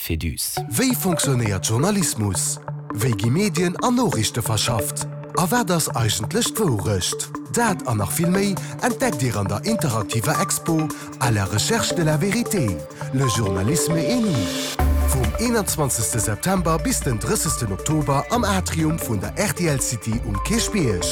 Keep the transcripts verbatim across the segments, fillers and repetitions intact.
Féduse. Wéi fonctionnéiert Journalismus? Wéi gi Medien an Noriichte verschafft? A wat ass eigentlech d'Wourecht? Dat an nach vill méi entdeckt Dir an der interaktiver Expo À la recherche de la vérité, le journalisme et nous. Vum eenanzwanzegste September bis den drëssegsten Oktober am Atrium vun der R T L City um Kierchbierg.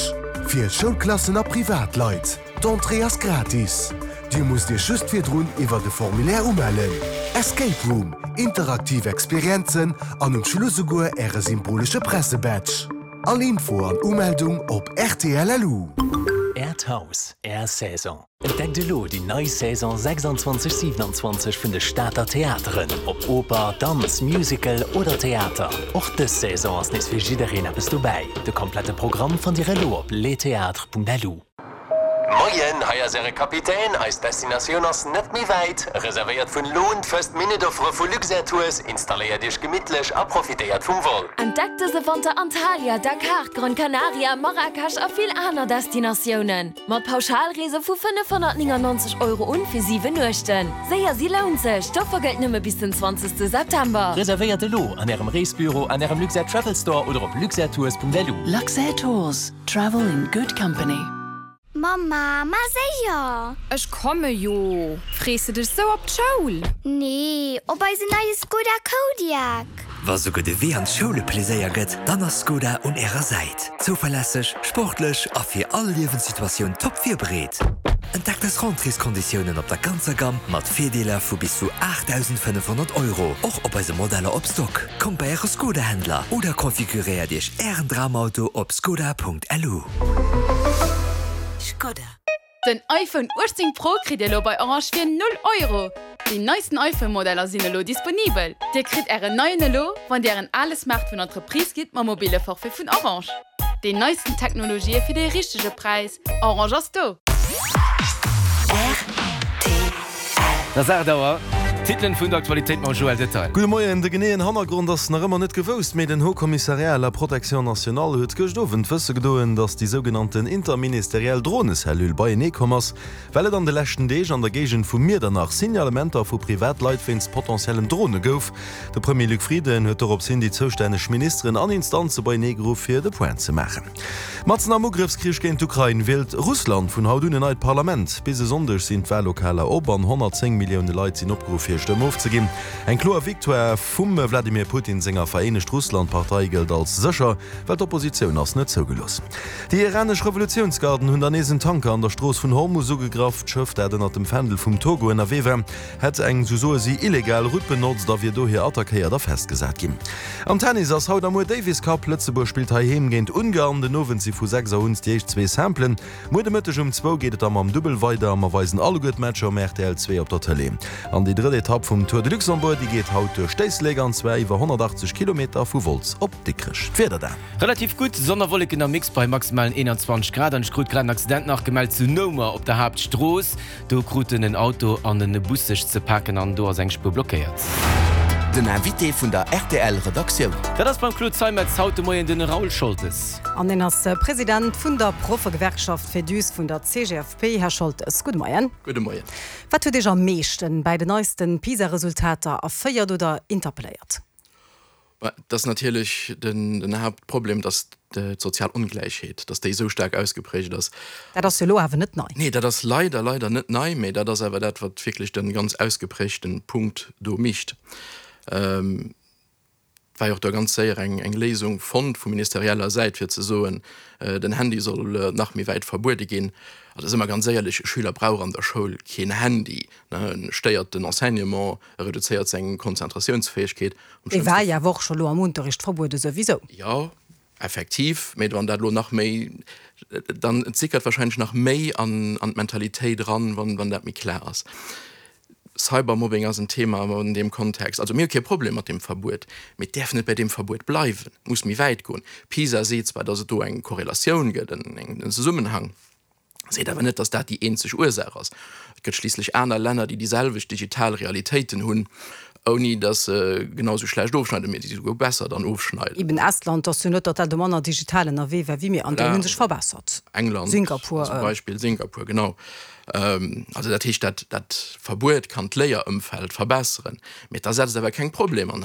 Fir Schoulklassen a Privatleit. D'Entrée ass gratis. Dir musst Iech just virdrun iwwer de Formulaire umellen. Escape Room, interaktiv Experienzen an um Schluss souguer äre symbolesche Pressebadge. All Info an Umeldung op R T L L U. Äert Haus, Är Saison. Entdeckt elo déi nei Saison sechsundzwanzeg siewenundzwanzeg vun de Stater Theateren. Ob Oper, Danz, Musical oder Theater. Och dës Saison ass nees fir jiddereen eppes dobäi. De komplette Programm fannt Dir elo op lestheatres Punkt L U. Moien, hei ass äre Kapitän. Eis Destinatioun ass net méi wäit. Reservéiert vun elo un d'First-Minute-Offere vu Luxair Tours, installéiert Iech gemittlech a profitéiert vum Vol. Entdeckt dëse Wanter Antalya, Dakar, Gran Canaria, Marrakesch a vill aner Destinatiounen. Mat Pauschalreese vu fënnefhonnertneunennonzeg Euro un fir siwen Nuechten. Séier si lount sech, d'Offer gëllt nëmme bis den zwanzegste September. Reservéiert elo an ärem Reesbüro, an ärem Luxair Travel Store oder op luxairtours Punkt L U. Luxair Tours. Travel in good company. Mama, ma séier! Ech komme jo. Frees de dech sou op d'Schoul? Nee, op eisen neie Skoda Kodiaq. Wa souguer de Wee an d'Schoul e Pleséier gëtt, dann ass Skoda un ärer Säit. Zouverlässeg, sportlech a fir all Liewenssituatioun top virbereet. Entdeckt eis Rentréeskonditiounen op der ganzer Gamm mat Virdeeler vu bis zu aachtdausendfënnefhonnert Euro, och op eise Modeller op Stock. Kommt bei äre Skoda-Händler oder konfiguréiert Iech ären Dramauto op skoda Punkt L U. Skoda. Den iPhone uechtzéng Pro kritt Dir elo bei Orange fir null Euro. Déi neisten iPhone-Modeller sinn elo disponibel. Dir kritt ären neien elo, wann Dir ären ale Smartphone an d'Reprise gitt mam mobile Forfait vun Orange. Déi neisten Technologië fir de richtege Präis. Orange ass do. Et ass aacht Auer. Titelen vun der Aktualitéit mam Joël Detail. Gudde Moien, de geneeën Hannergrond ass nach ëmmer net gewousst, mee den Haut Commissariat à la Protection nationale huet gëscht Owend wësse gedoen, datt déi sougenannten interministeriell Dronecellule beienee komm ass, well et an de leschten Deeg an der Géigend vu Miedernach Signalementer vu Privatleit wéinst potentiellen Drone gouf. De Premier Luc Frieden huet dorops hin déi zoustänneg Ministeren an Instanze beienee geruff fir de Point ze maachen. Matzen am Ugrëffskrich géint d'Ukrain wielt Russland vun haut un en neit Parlament. Bis e Sonndeg sinn d'Wallokaler op an honnertzéng Millioune Leit sinn opgeruff hir Stëmm ofzeginn. Eng kloer Victoire vum Wladimir Putin senger Vereenegt Russland-Partei gëllt als sécher, well d'Oppositioun ass net zougelooss. Déi iranesch Revolutiounsgarden hunn dann nees en Tanker an der Strooss vun Hormus ugegraff. D'Schëff, dat ënnert dem Fändel vum Togo ënnerwee war, hätt eng, sou soe si, illegal Route benotzt a wier dohier attackéiert a festgesat ginn. Am Tennis ass haut a muer Davis Cup. Lëtzebuerg spillt heiheem géint Ungarn. Den Owend si vu sechs Auer un déi éischt zwee Simplen. Muer de Mëtteg um zwou geet et da mam Dubbel weider. Mer weisen alleguer d'Matcher um R T L zwee op der Tëlee. An déi drëtt Etapp vum Tour de Luxembourg, déi geet haut duerch d'Éislek an zwar iwwer honnertachtzeg Kilometer vu Wolz op Dikrech. D'Wieder dann. Relativ gutt, Sonn a Wolleken am Mix bei maximalen eenanzwanzeg Grad. An ech krut grad en Accident nach gemellt zu Noumer op der Haaptstrooss. Do kruten en Auto an en Bus sech ze paken an do ass eng Spuer blockéiert. Den Invité vun der R T L Redaktioun. Dat ass beim Claude Zeimetz haut de Moien den Raoul Scholtes. An en ass President vun der Proffegewerkschaft Féduse vun der C G F P. Här Scholtes, gudde Moien. Gudde Moien. Wat huet Iech am meeschten bei den neisten PISA-Resultater erféiert oder interpelléiert? Dat ass natierlech den, den Haaptproblem, dass d'sozial Ongläichheet, dass déi sou staark ausgepräägt ass. Dat ass jo elo awer net nei. Nee, dat ass leider, leider net nei, mee dat ass awer dat, wat wierklech de ganz ausgepräägte Punkt do mécht. Ähm, war jo och da ganz séier eng, eng Léisung fonnt vu ministerieller Säit fir ze soen, äh, den Handy soll äh, nach méi wäit verbuede ginn. Also si mer ganz éierlech, e Schüler brauch an der Schoul keen Handy, ne, e stéiert den Enseignement, e reduzéiert seng Konzentratiounsfäegkeet. Am Dee war schlimmste jo awer och scho lo am Unterricht verbuede souwisou. Jo, effektiv, mee wann dat lo nach méi, dann et sickert warscheinlech nach méi an, an d'Mentalitéit eran, wann, wann dat méi kloer ass. Cybermobbing ass en Thema an deem Kontext. Also mir hu kee Problem mat deem Verbuet, mee et däerf net bei deem Verbuet bleiwen, et muss méi wäit goen. PISA seet zwar, datt et do eng Korrelatioun gëtt, en, en Zesummenhang, seet awer net, datt dat déi eenzeg Ursaach ass. Et gëtt schliisslech aner Länner, déi déi selwecht digital Realitéiten hunn, ouni datt se genau sou schlecht ofschneiden, mee déi souguer besser dann ofschneiden. Eben Estland ass jo net, datt dat do manner digital ënnerwee war wéi mir an déi hu sech verbessert. England Singapur, zum Beispill, Singapur, genau. Also dat heescht, dat, dat Verbuet kann d'Léierëmfeld verbesseren, mee et ersetzt awer keng Problemer.